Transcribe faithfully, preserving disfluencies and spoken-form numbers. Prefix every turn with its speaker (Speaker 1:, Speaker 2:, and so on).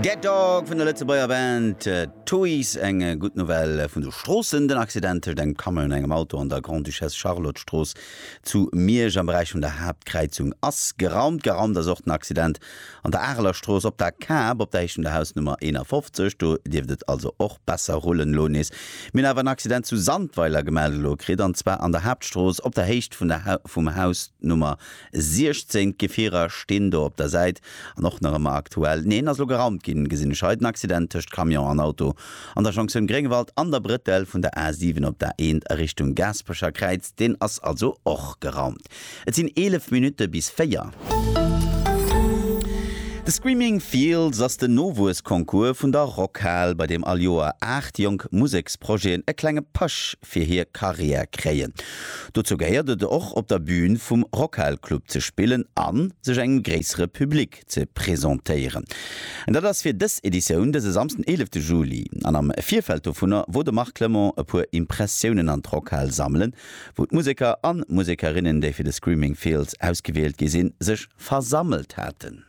Speaker 1: Dead Dog vun der Lëtzebuerger Band Tuys. Eng gutt Nouvelle vun de Stroossen, Den Accident tëscht engem Camion an engem Auto an der Grande-Duchesse Charlotte Strooss zu Miersch am Beräich vun der Haaptkräizung ass geraumt. Geraumt ass och den Accident an der Areler Strooss op der Kap op der Héicht vun der Hausnummer eenafofzeg. Do dierft et also och besser rullen elo nees. Mir hunn awer en Accident zu Sandweiler gemellt elo kritt, an zwar an der Haaptstrooss op der Héicht vun der vum Haus Nummer siechzéng. D'Gefierer stinn do op der Säit an och nach ëmmer aktuell, neen, ass elo geraumt ginn, gesinn ech hei, den Accident tëscht Camion an Auto an der Jonktioun Gréngewald an der Brëttel vun der A siwen op der A eent a Richtung Gaasperecher Kräiz, deen ass also och geraumt. Et sinn eelef Minutte bis véier. De Screaming Fields ass den Nowuessconcours vun der Rockhal, bei deem all Joer aacht jonk Museksprojeten e klenge Push fir hir Karriär kréien. Dozou gehéiert et och, op der Bün vum Rockhal Club ze spillen a sech engem gréissere Public ze presentéieren. An dat ass fir dës Editioun dëse Samsden, eelefte Juli. An am Virfeld dovunner wor de Marc Clement e puer Impressiounen an d'Rockhal sammelen, wou d'Museker a Musekerinnen, déi fir de Screaming Fields ausgewielt gi sinn, sech versammelt haten.